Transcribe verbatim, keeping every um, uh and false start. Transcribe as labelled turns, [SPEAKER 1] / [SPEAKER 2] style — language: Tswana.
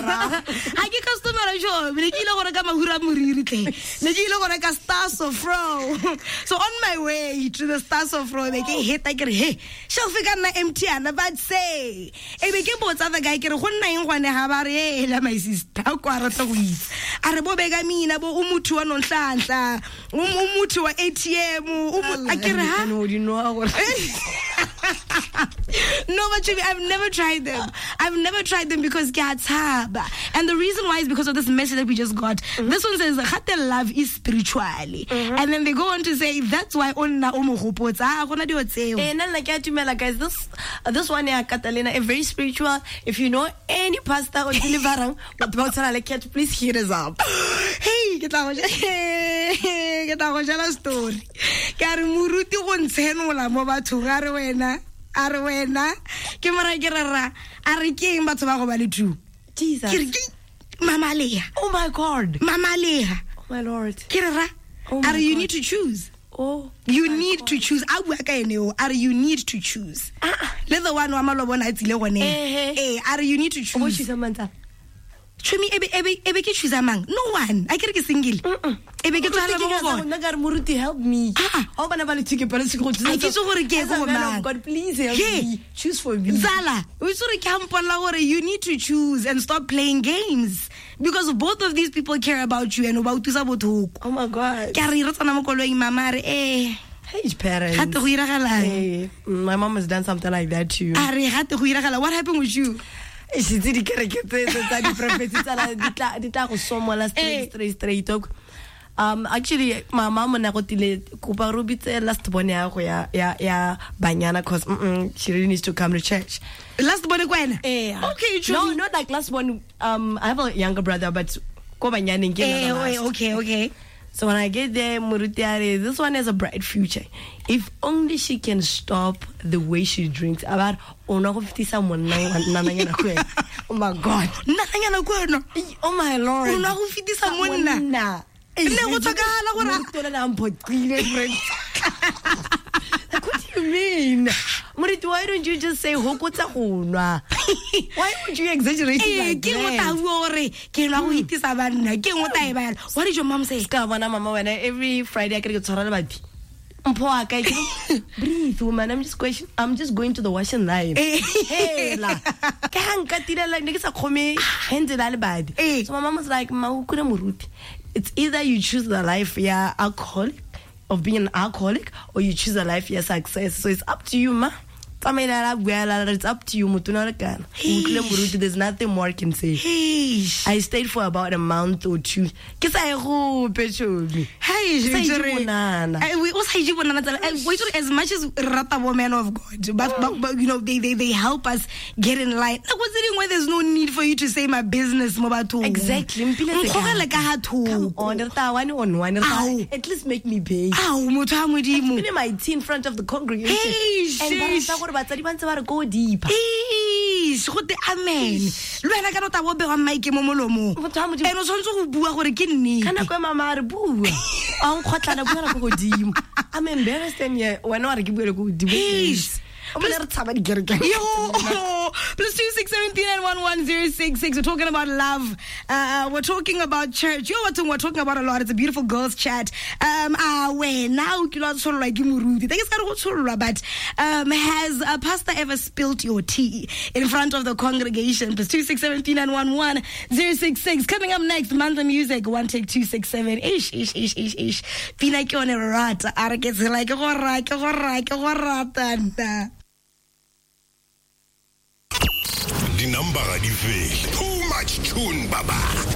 [SPEAKER 1] Ga ke customer jo, ne ke ile go reka mahura moriri tle. Ne ke ile go reka Star Sofro. So on my way to the Star Sofro, be ke heta ke re he, shelf e ka nna empty ana but say. E be ke botsa the guy ke re go nna eng gone ha ba re ela my sister kwa rata go itse. A re bo beka mina bo umuthu wa nonhlanhla, umuthu wa A T M, a ke re ha.
[SPEAKER 2] No, you know gore.
[SPEAKER 1] No, but Chumi, I've never tried them. I've never tried them because ke a tshaba. And the reason why is because of this message that we just got. Mm-hmm. This one says, Gate love is spiritually. Mm-hmm. And then they go on to say, that's why onna o mo gopotsa. Ah, gona dio tseo.
[SPEAKER 2] Eh, nna ke a dumela, guys. This, uh, this one here, Catalina, is very spiritual. If you know any pastor or deliverang, but ba tshwana le cat, please hit us up.
[SPEAKER 1] Hey, ke tla go ke tla go jala story. Ke a re moruti go ntshenola mo bathong, a re wena. A re wena ke mora ke rera a re ke eng batho ba go ba le two.
[SPEAKER 2] Jesus.
[SPEAKER 1] Ke re ke Mama Leha.
[SPEAKER 2] Oh my God.
[SPEAKER 1] Mama Leha.
[SPEAKER 2] Oh my Lord.
[SPEAKER 1] Ke rera
[SPEAKER 2] Oh
[SPEAKER 1] a re you
[SPEAKER 2] God.
[SPEAKER 1] Need to choose.
[SPEAKER 2] Oh,
[SPEAKER 1] you need God. To choose. A bua ka ene o a re you need to choose.
[SPEAKER 2] Ah.
[SPEAKER 1] Le the one wa malobona a tsile gone.
[SPEAKER 2] Eh,
[SPEAKER 1] eh a re you need to choose.
[SPEAKER 2] O choose mang tsa?
[SPEAKER 1] Chumi ebe ebe ebe ke choose mang? No one. A ke re ke single. Ebe ke tswala mo go bona.
[SPEAKER 2] Nna ka re moruti help me. O bana ba le tshike pele se go
[SPEAKER 1] A ke itse gore ke go mang.
[SPEAKER 2] God please help me. Choose for me.
[SPEAKER 1] Tsala, o itse gore ke a mpolla gore you need to choose and stop playing games because both of these people care about you and o ba utlwisa botlhoko.
[SPEAKER 2] Oh my God.
[SPEAKER 1] Ke a re re tsena mo koloing mama a re eh
[SPEAKER 2] Hey parents.
[SPEAKER 1] Gate go iragalang.
[SPEAKER 2] Hey, my mom has done something like that too.
[SPEAKER 1] A re gate go iragala. What happened with you?
[SPEAKER 2] She did kereke tse tsa di prophecy tsala di tla di tla go somola straight straight straight. Um actually my mom o ne go tile kopa ro bitse last born ya go ya ya ya banyana cause mm, -mm she really needs to come to church.
[SPEAKER 1] Last born kwena?
[SPEAKER 2] Eh.
[SPEAKER 1] Okay, true.
[SPEAKER 2] No, not like last born. Um I have a younger brother but ko banyaneng ke
[SPEAKER 1] eh, last. Okay, okay.
[SPEAKER 2] So when I get there, moruti a re, this one has a bright future. If only she can stop the way she drinks. About o nwa go fetisa monna nnananyana go ena. Oh my God.
[SPEAKER 1] Nnananyana go ena.
[SPEAKER 2] Oh my Lord.
[SPEAKER 1] O nwa go fetisa monna.
[SPEAKER 2] Monna.
[SPEAKER 1] Ne go tlhokagala gore
[SPEAKER 2] moruti o na mphoqile, friend. Like, what do you mean? Moruti, why don't you just say hokotsa go nwa? Why would you exaggerate it
[SPEAKER 1] Eh,
[SPEAKER 2] like
[SPEAKER 1] ke ngo
[SPEAKER 2] that?
[SPEAKER 1] ta bua gore ke nwa go itisa banna, ke ngo ta e bala. What did your mom say?
[SPEAKER 2] Ska bona mama wena every Friday a ke re ke tshwara lebati. Mpho wa ka ke breathe woman, I'm just question I'm just going to the washing line.
[SPEAKER 1] Eh.
[SPEAKER 2] Hela. Ke ha nka tirela ne ke sa kgome handle la lebadi.
[SPEAKER 1] Eh.
[SPEAKER 2] So my mom was like, "Ma o kure moruti. It's either you choose the life ya alcoholic of being an alcoholic or you choose a life ya success. So it's up to you, ma. Tsamaela la bua la re, it's up to you motho na le kana. O utlwile moruti, there's nothing more I can say.
[SPEAKER 1] Eish.
[SPEAKER 2] I stayed for about a month or two. Ke sa ye gope, chomi.
[SPEAKER 1] Hey,
[SPEAKER 2] Ke sa ije
[SPEAKER 1] Jerry.
[SPEAKER 2] bonana.
[SPEAKER 1] Eh, we also ije bonana tsala. Eh, we sort as much as re rata bo men of God, but, but, but you know they, they, they help us get in line. Like what's the where there's no need for you to say my business mo bathong.
[SPEAKER 2] Exactly. Mpile se
[SPEAKER 1] Nkgogele ka ha
[SPEAKER 2] Come
[SPEAKER 1] thoko.
[SPEAKER 2] on, re tla one on one. Re tla-
[SPEAKER 1] Ao.
[SPEAKER 2] At least make me pay.
[SPEAKER 1] Ao, motho wa Modimo.
[SPEAKER 2] Spilling my tea in front of the congregation.
[SPEAKER 1] Eish,
[SPEAKER 2] And ba
[SPEAKER 1] eish.
[SPEAKER 2] rata gore batsadi ba ntse ba re go deeper.
[SPEAKER 1] Eish, go te amen. Le wena ka no tla bo bewa mic mo molomong.
[SPEAKER 2] Motho wa Modimo.
[SPEAKER 1] And o tshwanetse go bua gore ke nnete.
[SPEAKER 2] Ka nako e mama a re bua. A nkgotlana buela ko godimo. I'm embarrassed and yeah, wena wa re ke buele ko godimo.
[SPEAKER 1] Eish.
[SPEAKER 2] O bone re tshaba dikereke.
[SPEAKER 1] Yo, plus two six seven three nine one one zero six six. We're talking about love. Uh, we're talking about church. Yo, we're talking, we're talking about a lot. It's a beautiful girls' chat. Um, ah, we now ke lo tshollwa ke moruti. Thank you go tshollwa, but um, has a pastor ever spilt your tea in front of the congregation? Plus two six seven three nine one one zero six six. Coming up next, Mandla Music one take two six seven. Ish ish ish ish ish. Pina ke yone rata. A re ke tshela ke go ra ke go ra ke go rata nna.
[SPEAKER 3] Di number di fele. Too much tune baba.